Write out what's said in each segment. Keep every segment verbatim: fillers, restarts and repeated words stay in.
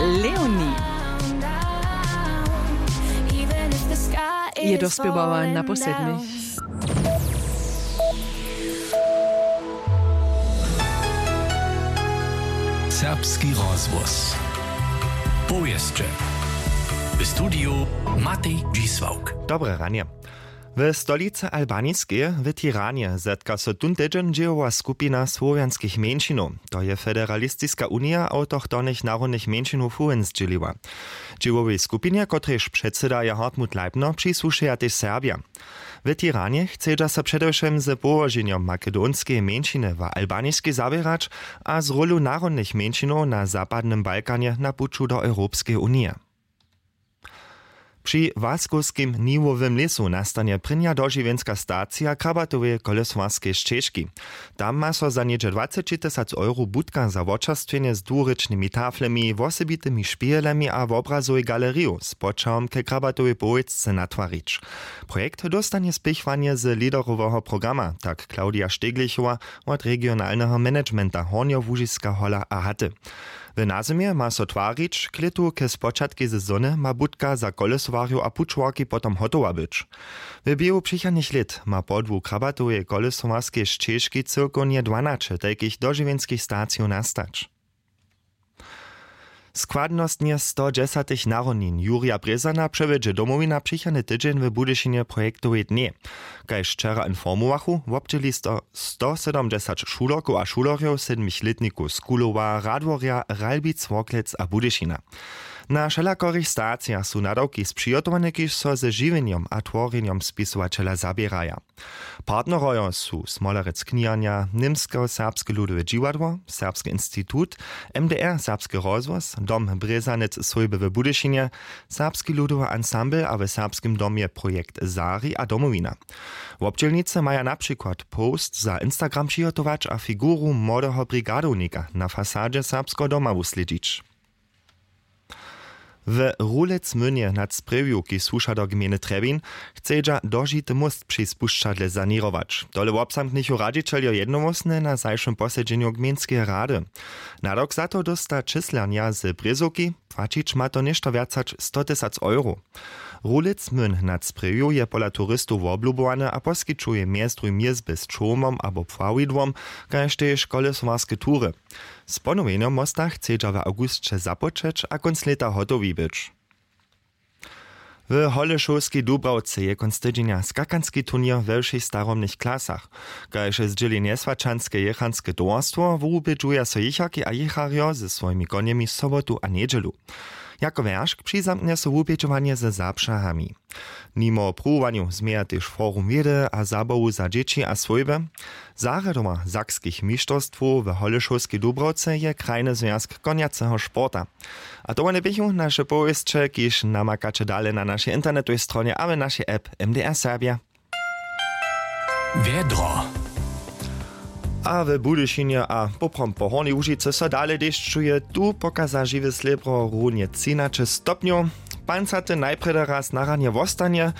Leonie je dospěwała na poslednich. Serbski rozhłos. Powěsće. W studiju Matej Dźisławk. Dobre ranje. W stolicy Albaniskej, w Tiranje, zetka so tón tydźeń dźěłowa skupina słowjanskich mjeńšinow. To je Federalistiska unija awtochtonych narodnych mjeńšinow fuhn zdźěliła. Dźěłowej skupinje, kotrež předsyda je Hartmut Leibner, přisłušeja tež Serbja. W Tiranje chcedźa so předewšěm z połoženjom makedonskeje mjeńšiny w Albaniskej zaběrać a z rólu narodnych mjeńšinow na zapadnym Balkanje na puću do Europskeje unije. Při Waskowskim niwowym lěsu nastanje prěnja dožiwjenska stacija krabatoweje kolesowarskeje šćežki. Tam ma so za něhdźe dwaceći tysac euro budka za wočerstwjenje z dwurěčnymi taflemi, wosebitymi špěhelemi a wobrazowej galeriju z poćahom ke krabatowej powěsće natwarić. Projekt dóstanje spěchowanje z leaderoweho programa, tak Claudia Steglichowa wot regionalneho managementa Hornjołužiska Hola a Haty. W nazymje ma so twarić, k lětu ke spočatkej sezony ma budka za kolesowarjow a pućowarki potom hotowa być. W běhu přichodnych lět ma podłu krabatoweje kolesowarskej šćežki cyłkownje dwanaće tajkich dožiwjenskich stacijow nastać. Składnostnje stodźesatych narodnin Jurja Brězana přewjedźe Domowina přichodny tydźeń w Budyšinje projektowej dnjej. Kaž wčera informowachu, wobdźěli sto, stosydomdźesat šulerkow a šulerjow, sedmich lětnikow z Kulowa, Radworja, Ralbic, Worklec a Budyšina. Na wšelakorych stacijach su nadawki spřihotowane, kiž so ze žiwjenjom a tworjenjom spisowaćela zaběraja. Partnerojo su Smolerec kniharnja, Němsko-serbske ludowe dźiwadło, Serbski institut, M D R, Serbski rozhłos, Dom Brězanec swójby w Budyšinje, Serbski ludowy ansambl a w Serbskim domje projekt Zari a Domowina. Wobdźělnicy maja na přikład post za Instagram přihotować a figuru młodeho brigadownika na fasadźe Serbskeho doma wuslědźić. W Rulecmynje nad Sprjewju, kiž słuša do gmejny Trjebin, chcedźa dožity móst při spušćadle saněrować. Tole wobzamknichu radźićeljo jednohłosnje na zašłym posedźenju gmejnskeje rady. Nadawk za to dósta číslernja z Brězowki, płaćić ma to něšto wjac hač sto tysac euro. Rulecmyn nad Sprjewju je pola turistow woblubowany a poskićuje mjez druhim jězby z čołmom abo pławidłom, kaž tež kolesowarske tury. Z ponowjenjom mósta chcedźa w awgusće započeć a kónc lěta hotowi być. W Holešowskej Dubrawce je kónc tydźenja skakanski turněr we wšěch starobnych klasach. Kaž zdźěli njeswaćanske jěchanske towarstwo, wubědźuja so jěcharki a jěcharjo ze swojimi konjemi sobotu a njedźelu. Jako wjeršk přizamknje so wubědźowanje ze zapřahami. Nimo pruwowanju změja tež forum wědy a zabawu za dźěći a swójby. Zarjadowa sakskich mišterstwow w Holešowskej Dubrawce je krajny zwjazk konjaceho sporta. A to wone běchu naše powěsće, kiž namakaće dale na našej internetowej stronje a w našej app M D R Serbja. Wjedro. A w Budyšinje a poprawom po Hornjej Łužicy so dale dešćuje, tu pokaza žiwe slěbro runje třinaće stopnjow. Pancaty najprjedy raz na ranje wostanje.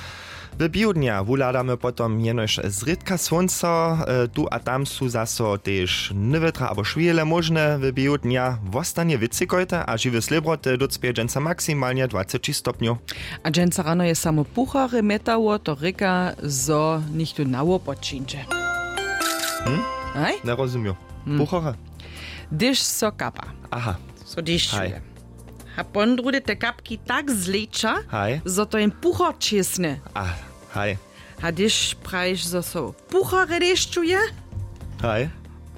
W běhu dnja wuhladamy potom jenož zrědka słónco, e, tu a tam su zaso tež nywětra abo šwěhle móžne. W běhu dnja wostanje wětřikojte a žiwe slěbroty dócpěje dźensa maksimalnje dwaceći stopnjow. A dźensa rano je samo puchary mjetało, to rěka, zo něchtó na wopod přińdźe. Hm? Haj? Njerozumił. Puchary? Hdyž so kapa. Aha. So dešćuje. Haj. A pon druhdy te kapki tak zleča, haj, zo to jen puchar čěsne. A, haj. A hdyž prajiš, zo so puchary dešćuje, haj,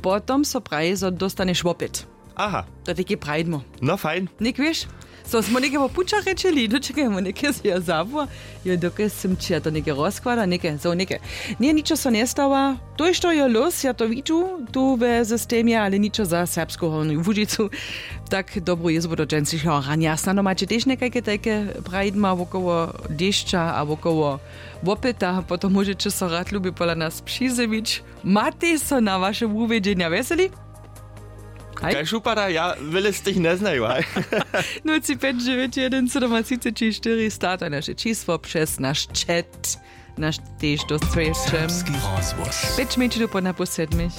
potom so praji, zo dóstaneš wopyt. Aha. To tiki prajdmo. No fajn. Něk wěš? So smo něke wo pućach rěčeli, dočekajmo něke z jeho zabor. Jo, dokelž sym ći ja to něke rozkłada, něke, zo něke. Ně, ničo so njestawa. To je što jo los, ja to widźu tu we systemje, ale ničo za Serbsku Hornju Łužicu. Tak dobru jězbu do dźensišeho ranja. Snano maće tež někajke tajke prajdma wokoło dešća a wokoło wopyta, potom móžeće so rad lubje pola nas přizjewić. Matej so na waše wuwědźenja wjeseli? Haj? Kaž wupada, ja wjele z tych njeznaju, haj. Nul tři pjeć dźewjeć jedyn sydomatřiceći štyri sta, to je naše čisło přez naš chat. Naš tež dosć. Serbski rozhłos. Pjeć mjeńšinow po napoł sedmich.